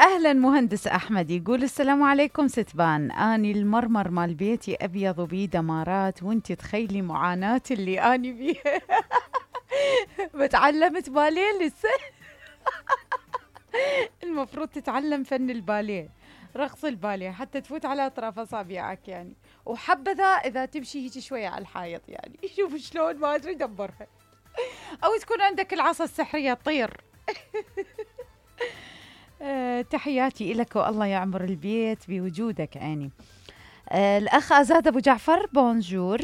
أهلا مهندس أحمد، يقول السلام عليكم ستبان، أني المرمر مال بيتي أبيض وبيه دمارات، وانتي تخيلي معاناة اللي أني بيها. بتعلمت باليه لسه. المفروض تتعلم فن الباليه، رقص الباليه، حتى تفوت على أطراف أصابعك يعني، وحبذا إذا تمشي هيك شوية على الحائط يعني. شوف شلون، ما أدري دبرها. أو تكون عندك العصا السحرية تطير. تحياتي لك والله يعمر البيت بوجودك عيني. الأخ أزاد أبو جعفر، بونجور.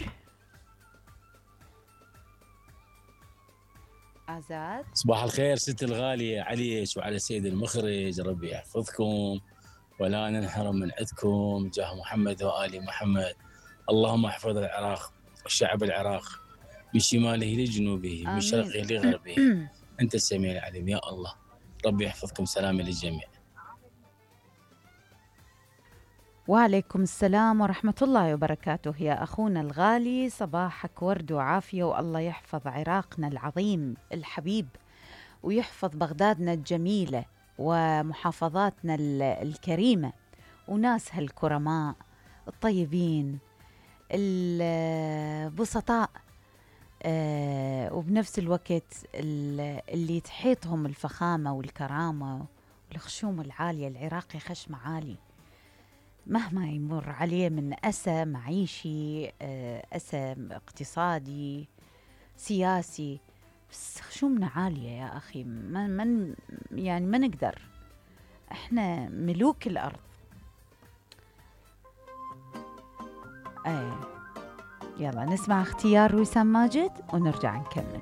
أزاد، صباح الخير ست الغالية عليك وعلى سيد المخرج، ربي يحفظكم ولا ننحرم من عندكم جاه محمد وآل محمد. اللهم احفظ العراق والشعب العراق من شماله لجنوبه، من آمين. شرقه لغربه. أنت السميع العليم يا الله، ربي يحفظكم. سلام للجميع. وعليكم السلام ورحمة الله وبركاته يا أخونا الغالي، صباحك ورد وعافية، والله يحفظ عراقنا العظيم الحبيب، ويحفظ بغدادنا الجميلة ومحافظاتنا الكريمة، وناسها الكرماء الطيبين البسطاء، وبنفس الوقت اللي تحيطهم الفخامة والكرامة والخشوم العالية. العراقي خشم عالي مهما يمر عليه من أسى معيشي، أسى اقتصادي، سياسي، بس خشومنا عالية يا أخي. يعني ما نقدر، احنا ملوك الأرض. يلا نسمع اختيار وسام ماجد ونرجع نكمل.